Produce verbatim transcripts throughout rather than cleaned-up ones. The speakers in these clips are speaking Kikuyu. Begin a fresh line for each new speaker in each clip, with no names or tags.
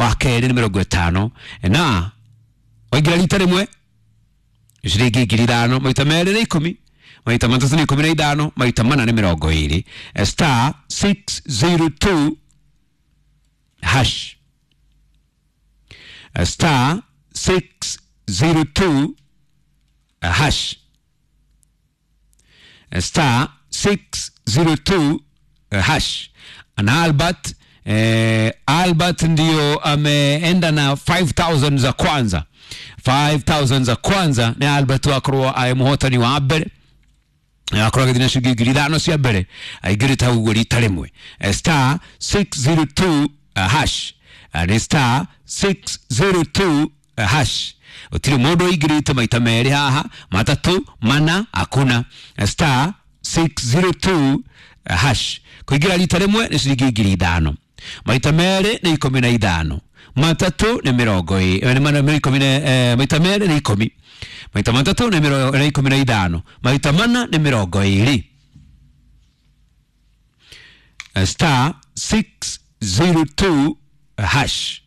Wa kerĩ nĩ mĩrongo ĩtano. Na waingĩra rita rĩmwe ciringi ngiri ithano, maita merĩ nĩ ikũmi, maita matatũ nĩ ikũmi na ithano, maita mana nĩ mĩrongo ĩrĩ. Star six zero two hash, star six zero two hash, star six zero two hash. Na Albert, eh, Albert ndio ameenda na five thousand za kwanza. five thousand za kwanza ni Albert wakorwo aĩ mũhotani wa mbere, akorwo agĩthiĩ na ciringi ngiri ithano cia mbere, aingĩrĩte hau ũguo rita rĩmwe. Star six zero two hash, ni star six zero two hash. Gũtirĩ mũndũ ũingĩrĩte maita merĩ haha, matatũ, mana, hakuna. Star six zero two hash. Kũingĩra rita rĩmwe nĩ ciringi ngiri ithano, maita merĩ nĩ ikũmi na ithano, matatũ nĩ mĩrongo ĩ, nĩ mana ikũmi na, eh, maita merĩ nĩ ikũmi, maita matatũ nĩ mĩrongo, nĩ ikũmi na ithano, maita mana nĩ mĩrongo ĩrĩ. Star six zero two hash,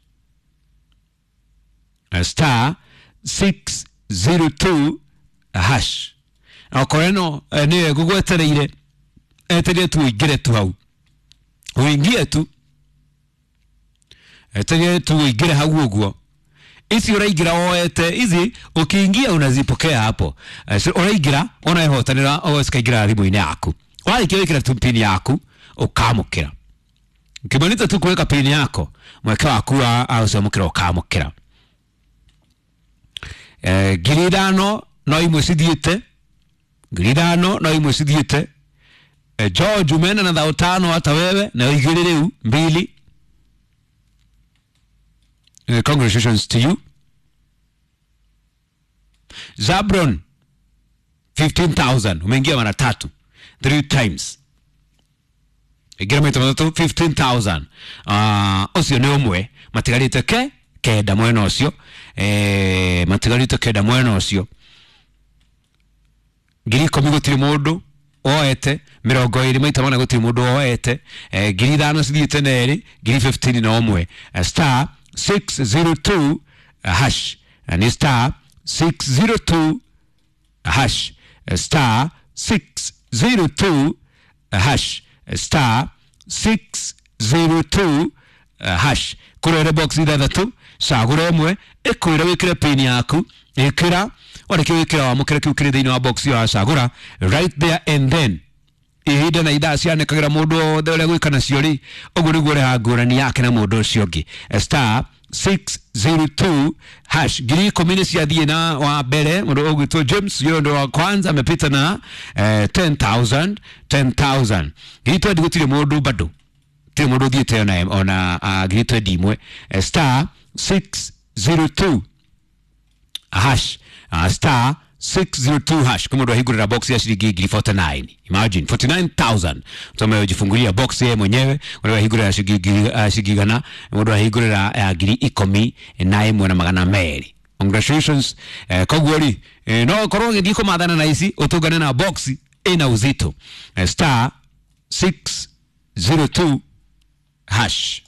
star six zero two hash. Okorwo ĩno nĩyo ĩgũgwetereire, etereire tu ũingĩre tu hau, ũingie tu, etereire tu ũingĩre hau ũguo. Ici ũraingĩra woete ici, ũkĩingia unazipokea hapo. Ũraingĩra ũnehotanĩra, ũcikaingĩra thimũ-inĩ yaku. Warĩkia gwĩkĩra tu pin yaku ũkamũkĩra. Ukimaliza tu kuweka pin yako, mweke waku wa ũcamũkĩra ũkamũkĩra. Eh, ngiri ithano no imwe cithiĩte, ngiri ithano no imwe cithiĩte. Eh, George umeenda na thao tano hata wewe na igĩrĩ rĩu mbili. Eh, congratulations to you. Zabron fifteen thousand umeingia mara tatu, three times. Ingira maita matatũ fifteen thousand. Ah, ũcio nĩ ũmwe matigarĩte ke kenda mwena ũcio. Eh, matigarĩte kenda mwena ũcio. Ngiri ikũmi gũtirĩ mũndũ oete, mĩrongo ĩrĩ maita mana gũtirĩ mũndũ oete. Eh, ngiri ithano cithiĩte na ĩrĩ, ngiri fifteen na ũmwe. Star six zero two hash, ni star six zero two hash, star six zero two hash, star six zero two hash. Kũrĩa box ithathatũ, cagũra ĩmwe, ĩkwĩre wĩkĩre pin yaku, ĩkĩra, warĩkia gwĩkĩra wamũkĩre kĩu kĩrĩ thĩinĩ wa box ĩyo wacagũra right there and then. Ihinda na ithaa cianĩkagĩra mũndũ wothe ũrĩa gwĩka nacio rĩ, ũguo nĩguo ũrehaga ngũrani yake na mũndũ ũcio ũngĩ. Star six zero two hash. Ngiri ikũmi nĩ ciathiĩ na wa mbere, mũndũ ũgwĩtwo James, yeye ndo wa kwanza amepita na, eh, ten thousand, ten thousand. Ngiri twenty gũtirĩ mũndũ bado, gũtirĩ mũndũ ũthiĩte ona, ona, uh, ngiri twenty imwe. Star six zero two hash, uh, star six zero two hash. Kama ndo ahingurira box ya shilingi ngiri forty nine. Imagine forty nine thousand. Mtu amejifungulia box yeye mwenyewe, ndo ahingurira shilingi, uh, shilingi gana, ndo ahingurira ya ngiri ikũmi na ĩmwe na magana merĩ. Congratulations. Eh, koguo rĩ, eh, no korwo ũgĩthiĩ kũmathana na ici, ũtũngane na box ĩna uzito. Eh, star six zero two hash.